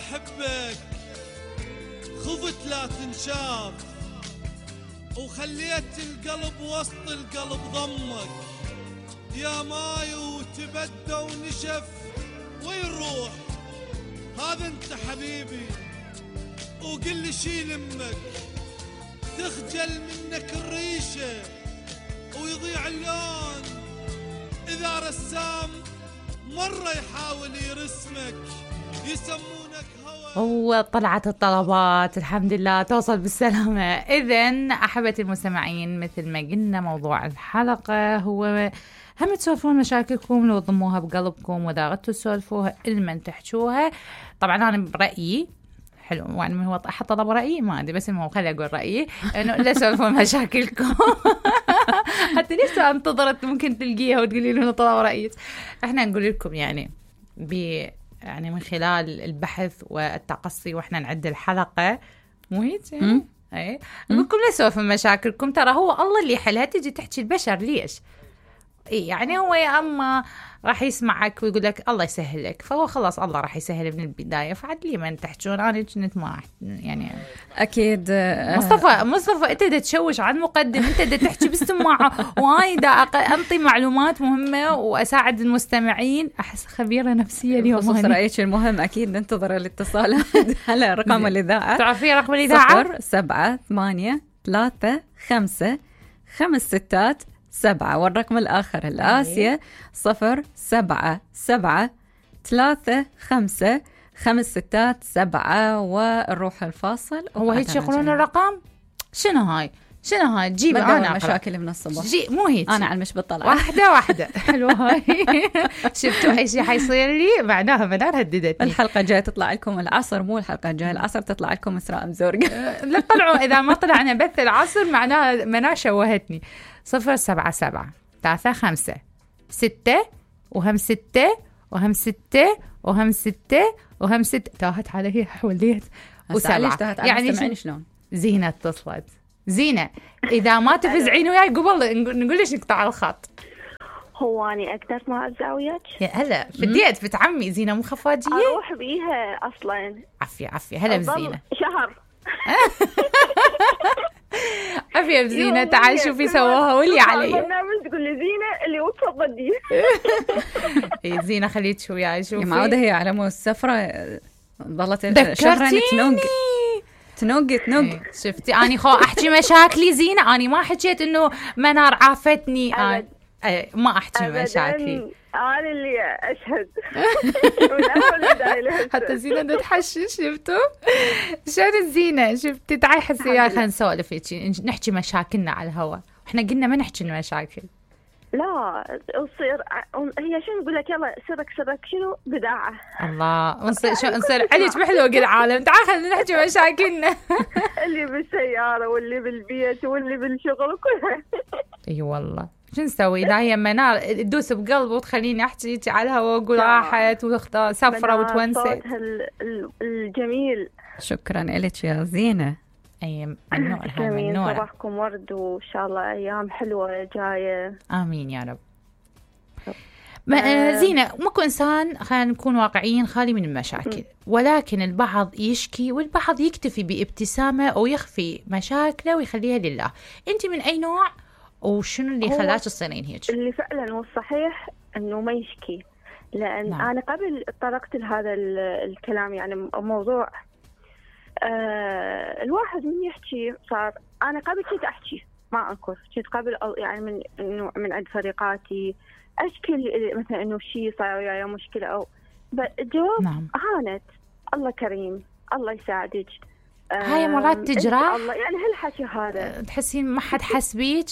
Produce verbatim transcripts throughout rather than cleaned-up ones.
أحبك خفت لا تنشاف، وخليت القلب وسط القلب ضمك، يا ماي وتبدى ونشف وين روح؟ هذا انت حبيبي وقل لي شيل امك، تخجل منك الريشة ويضيع اللون إذا رسام مرة يحاول يرسمك، يسمونك هوا. وطلعت الطلبات الحمد لله توصل بالسلامة. إذن أحبتي المستمعين، مثل ما قلنا موضوع الحلقة هو هم تسولفون مشاكلكم لو ضموها بقلبكم، وإذا غدتوا تسولفوها إلمن تحجوها. طبعا أنا برأيي حلو، يعني من هو أحط طلب رأيي ما أدري، بس المهم خلي أقول رأيي إنه لا تسولفون مشاكلكم. حتى ليش انتظرت ممكن تلقيها وتقولي له طلب رأيك. إحنا نقول لكم يعني ب يعني من خلال البحث والتقصي وإحنا نعد الحلقة مو هيك يعني؟ أي نقول لكم لا تسولفون مشاكلكم، ترى هو الله اللي يحلها. تجي تحكي البشر ليش؟ إيه يعني هو يا أما راح يسمعك ويقول لك الله يسهل لك، فهو خلاص الله راح يسهل من البداية. فعد لي من تحجون أنا كنت ما يعني أكيد. مصطفى مصطفى أنت دا تشوش عن مقدم، أنت دا تحكي بالسماعة وأنا دا أنطي معلومات مهمة وأساعد المستمعين. أحس خبيرة نفسية اليوم. خصوص رأيك المهم. أكيد ننتظر الاتصالات على رقم الإذاعة. تعرفي رقم الإذاعة؟ صفر سبعة ثمانية ثلاثة خمسة خمس ستات سبعة، والرقم الآخر الآسيا صفر سبعة سبعة ثلاثة خمسة خمس ستات سبعة. والروح الفاصل. هو هيك يقولون الرقم؟ شنو هاي؟ شنو هاي؟ جيب أنا مشاكل من الصبح. جي مو هيك. أنا على مش بطلع. واحدة واحدة. حلوة هاي. شفتوا أي شيء حيصير لي معناها منار هددتني. الحلقة جاية تطلع لكم العصر، مو الحلقة الجاية العصر تطلع لكم إسراء مزورق. لا طلعوا إذا ما طلعنا بث العصر معناها منار شوهتني. صفر سبعة سبعة ثلاثة خمسة ستة وهم ستة وهم ستة وهم ستة وهم ستة. تاهت علي حوليت وسبعة. يعني شلون؟ زينة اتصلت. زينة إذا ما تفزعين وياي قبل نقول ليش نقطع الخط. هو أنا أقدر ما أرجع وياك؟ يا هلا بديت بنت عمي زينة مو خفاجية. أروح بيها أصلا. عفية عفية هلا بزينة. شهر. عفية بزينة تعال شوفي سواها واللي علي. برنامج تقول لي زينة اللي وتفضلي. إيه زينة خليت شو وياي شوفي. معودة هي على مو السفرة ضلت شهرين تنوق تنوق تنوق. شفتي أنا خو أحكي مشاكلي زينة. أنا ما حكيت إنه منار عافتني. أنا ما أحكي مشاكلي. أنا اللي أشهد. حتى زينة تتحشش. شفتوا شلون الزينة؟ شفتي تعي حسي يا خلينا نسولف نحكي مشاكلنا على الهواء. إحنا قلنا ما نحكي المشاكل. لا نصير هي شنو نقول لك يلا سرك سرك شنو بداعة. الله نصير شو نصير عليك بحلوة العالم. تعال خلينا نحكي مشاكلنا. اللي بالسيارة واللي بالبيت واللي بالشغل وكلها. اي والله شو نسوي؟ لا هي منار تدوس بقلب وتخليني احكي على الهواء واقول راحت واختار سفرة وتونست. الجميل. شكرا لك يا زينة. اي منور هاي منور. صباحكم ورد وان شاء الله ايام حلوة جاية. امين يا رب. ما زينة ماكو إنسان خلينا نكون واقعيين خالي من المشاكل، ولكن البعض يشكي والبعض يكتفي بابتسامة أو يخفي مشاكله ويخليها لله. أنت من أي نوع وشنو اللي خلاك تصيرين هيك؟ اللي فعلا والصحيح إنه ما يشكي، لأن نعم. أنا قبل طرقت لهذا الكلام يعني موضوع آه الواحد من يحكي صار. أنا قبل كنت أحكي ما أنكر، كنت قبل يعني من إنه من عند فريقاتي أشكل مثلا إنه شيء صار وياي مشكلة أو الجواب نعم. هانت الله كريم الله يساعدك. هاي مرات تجرح الله يعني هالحكي هذا تحسين ما حد حس بيك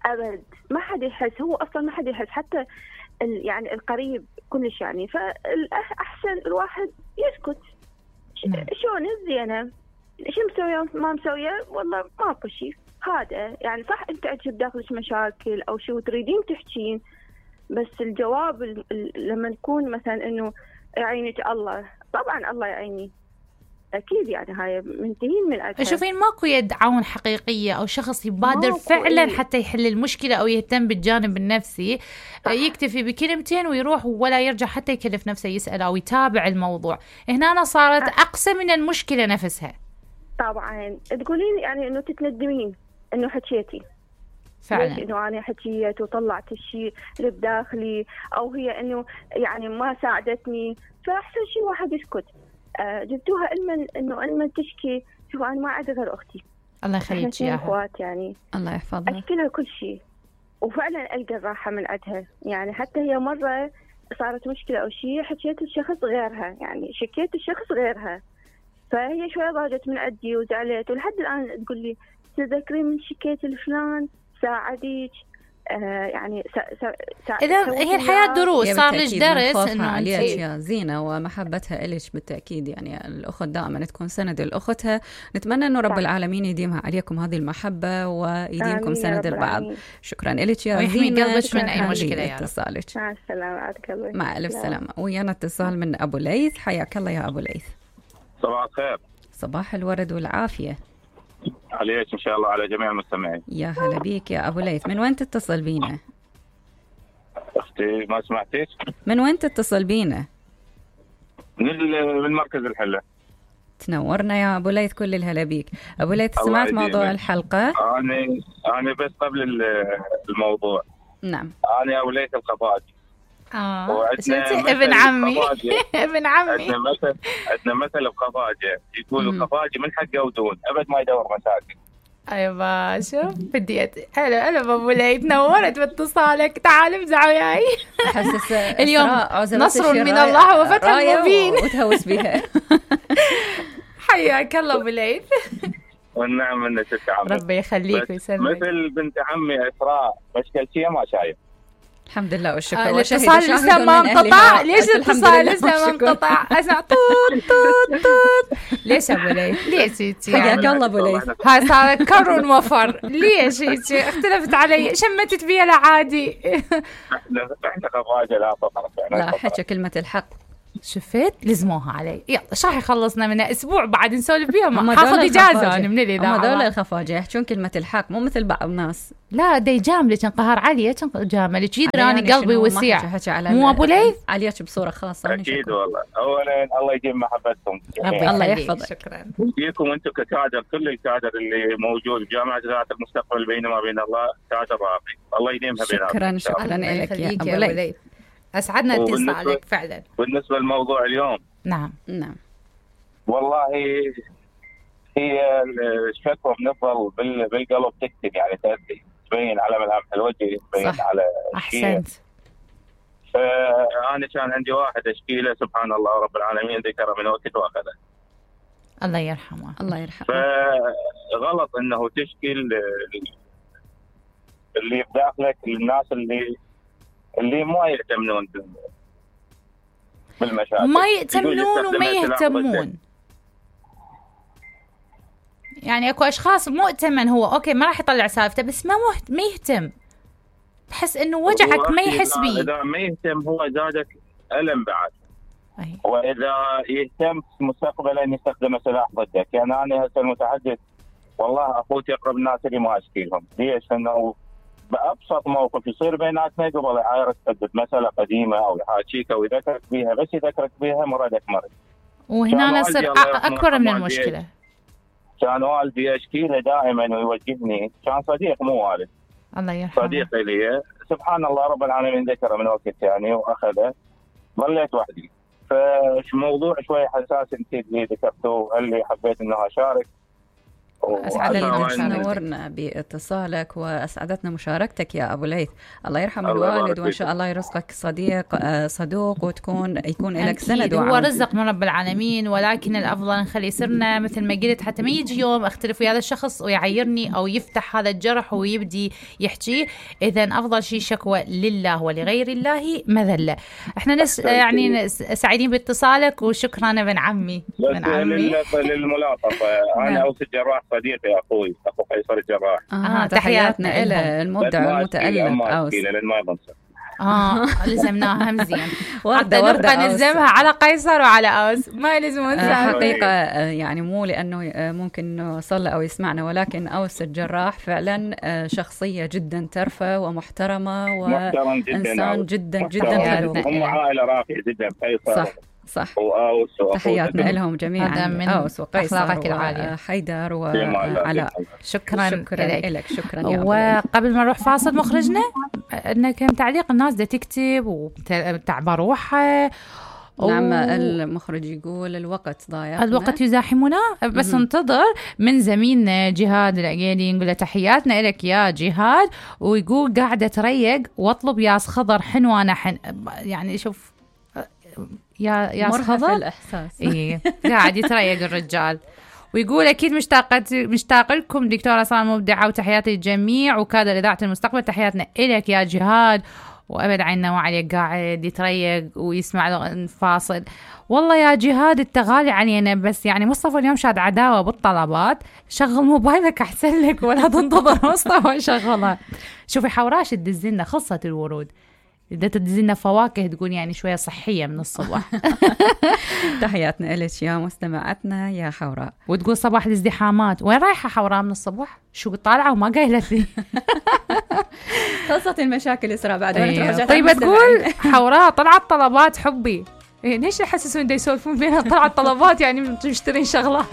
أبد، ما حد يحس، هو أصلا ما حد يحس حتى يعني القريب كلش يعني. فالأحسن الواحد يسكت. نعم. شلون الزينة شو مسوية ما مسوية والله ماكو شيء هذا يعني صح. أنت عجب داخلك مشاكل أو شو تريدين تحكين، بس الجواب لما نكون مثلا إنه يعينك الله، طبعا الله يعيني اكيد يعني هاي منتهين من عندها. شوفين ماكو يد عون حقيقيه او شخص يبادر ماكو فعلا إيه. حتى يحل المشكله او يهتم بالجانب النفسي. صح. يكتفي بكلمتين ويروح ولا يرجع حتى يكلف نفسه يسال او يتابع الموضوع. هنا أنا صارت اقسى من المشكله نفسها. طبعا تقولين يعني انه تتندمين انه حكيتي فعلا انه انا حكيت وطلعت الشيء اللي بداخلي، او هي انه يعني ما ساعدتني، فاحسن شيء واحد يسكت. آه جبتوها علما انه علما تشكي. شوف انا ما عندي غير اختي، الله يخليك اياها، اخوات يعني الله يحفظها، اشكي لها كل شيء وفعلا القى الراحه من عندها. يعني حتى هي مره صارت مشكله او شيء حكيت الشخص غيرها، يعني شكيت الشخص غيرها، فهي شويه ضاجت من عندي وزعلت، ولحد الان تقول لي تذكرين من شكيت لفلان ساعديك. آه يعني إذا هي الحياة دروس، صار لك درس إنه عليك يا زينة ومحبتها إلك بالتأكيد. يعني الأخت دائما تكون سند لأختها. نتمنى إنه رب العالمين يديمها عليكم هذه المحبة ويديمكم سند البعض. شكرا لك يا زينة، قلبك من أي مشكلة يا اتصالك. مع السلامة. مع ألف سلامة. ويانا اتصال من أبو ليث. حياك الله يا أبو ليث. صباح الخير. صباح الورد والعافية عليك إن شاء الله على جميع المستمعين. يا هلا بيك يا أبو ليث. من وين تتصل بينا؟ أختي ما سمعتيش؟ من وين تتصل بينا؟ من من مركز الحلة. تنورنا يا أبو ليث، كل الهلا بيك. أبو ليث سمعت موضوع الحلقة؟ أنا أنا بس قبل الموضوع. نعم. أنا أبو ليث القفاجي. آه ابن عمي ابن عمي. عندنا مثل عندنا مثل القفاجة يقولوا القفاجي من حقه ودون أبد ما يدور مشاكل. أيوة شوف بديت. هلا هلا أبو ليث، نورت باتصالك. تعال امزح وياي. حسس اليوم نصر من الله وفتح مبين وتهوس بها. حياك الله أبو ليث. والنعم من ست عمي. ربي يخليك ويسلمك. مثل بنت عمي إسراء مشكل شيء ما شايف. الحمد لله والشكر. آه الاتصال لسه ما انقطع. ليش الاتصال لسه ما انقطع؟ اسمع طوط طوط طوط. ليش ابو ليث؟ ليش هيك؟ حياك الله ابو ليث. هاي صارت كر وفر. ليش هيك؟ اختلفت علي، شمتت بيها لعادي. احنا احنا خواجه لا فقط. لا حكى كلمة الحق. شفت لزموها علي. يلا شاح يخلصنا منها اسبوع بعد نسولف بيها. حاخذ اجازه انا من الاذاعه. هذول الخفاجه يحجون كلمه الحق، مو مثل بعض الناس. لا دا يجاملك انقهر عليه جاملك يدراني قلبي وسيع. مو ابو ليث عليك بصوره خاصه. اكيد والله. اولا الله يديم محبتكم. الله يحفظك. شكرا فيكم انتم ككادر، كل الكادر اللي موجود جامعه ذات المستقبل بينما بين الله كادر راقي. الله يديمها بيناتكم. شكرا شكرا لك يا ابو ليث. أسعدنا اتصالك فعلا. بالنسبة للموضوع اليوم، نعم نعم والله هي الشكوى بنفضل بالقلب تكتب، يعني تأدي تبين على ملامح الوجه، تبين صح. على أحسنت. فأنا كان عندي واحد أشكي له سبحان الله رب العالمين ذكره من وقت وأخذه. الله يرحمه. الله يرحمه. فغلط إنه تشكي اللي بداخلك للناس اللي اللي ما يهتمون بالمشاكل، ما يهتمون وما يهتمون. يعني اكو اشخاص مؤتمن هو اوكي ما راح يطلع سالفته بس ما مهت... ما يهتم. تحس انه وجعك ما يحس بيه. اذا ما يهتم هو زادك الم بعد. أي. واذا يهتم مستقبلا يستخدم سلاح ضدك. يعني انا هسه المتحدث والله اخوتي اقرب الناس اللي ما اشكي لهم. ليش؟ انه بأبسط موقف يصير بيناتنا قبل يعايرك تثبت مسألة قديمة أو يحاكيك أو يذكرك بيها، بس يذكرك بيها مرادك مرض. وهنا نصير أكبر من المشكلة. كان والدي أشكي له دائما ويوجهني، كان صديق مو والد. الله يرحمه. صديق لي سبحان الله رب العالمين ذكره من وقت يعني وأخذه. ظليت وحدي. فموضوع شوي حساس انت اللي ذكرته اللي حبيت إنه أشارك. أسعدنا نورنا باتصالك وأسعدتنا مشاركتك يا أبو ليث. الله يرحم الوالد وإن شاء الله يرزقك صديق صدوق وتكون يكون لك سند وعون. هو رزق من رب العالمين، ولكن الأفضل نخلي سرنا مثل ما قلت حتى ما يجي يوم أختلف ويا هذا الشخص ويعيرني أو يفتح هذا الجرح ويبدي يحكي. إذن أفضل شيء شكوى لله ولغير الله مذلة. إحنا نس يعني سعيدين باتصالك وشكرا ابن عمي. ابن عمي للملاطفة. أنا أوس الجراح صديقي أخوي أخو قيصر الجراح. آه تحياتنا إلى المبدع والمتألق أوس. اه لزمناها مزين. وردة وردة نبقى نلزمها على قيصر وعلى أوس، ما يلزمون آه سامي. حقيقة آه يعني مو لأنه آه ممكن إنه صلى أو يسمعنا، ولكن أوس الجراح فعلا آه شخصية جدا ترفة ومحترمة وإنسان جدا جدا حلو. هم عائلة راقية جدا قيصر. صح صح. وأوس تحياتنا لهم جميعا، أوس وقيصر وحيدر وعلاء. شكرا شكرا لك. شكرا يا وقبل ما نروح فاصل مخرجنا إنه كم تعليق الناس دا تكتب وتعبى روحها. نعم المخرج يقول الوقت ضايع، الوقت يزاحمنا، بس انتظر من زميلنا جهاد العقيلي نقول له تحياتنا لك يا جهاد، ويقول قاعدة تريق واطلب ياس خضر حنوانة حن. يعني شوف يا يا خضر الإحساس إيه قاعد يتريق الرجال. ويقول أكيد مشتاقة مشتاق لكم دكتورة سلمى مبدعة، وتحياتي للجميع وكادر إذاعة المستقبل. تحياتنا إلك يا جهاد، وأبد عنا وعليك قاعد يتريق ويسمع الفاصل. والله يا جهاد التغالي علينا، بس يعني مصطفى اليوم شاد عداوة بالطلبات. شغل موبايلك أحسن لك ولا تنتظر مصطفى شغلها. شوفي حوراش تدزلنا خلصت الورود، إذا تدزلنا فواكه تقول يعني شوية صحية من الصبح. تحياتنا إليش يا مستمعتنا يا حوراء. وتقول صباح الازدحامات، وين رايحة حوراء من الصبح؟ شو طالعة وما قايلت لي. خلصت المشاكل إسراء بعد. أيه. طيب تقول حوراء طلعت طلبات حبي. إيه ليش يحسسون دا يسولفون بينها طلعت طلبات يعني مشترين شغلات.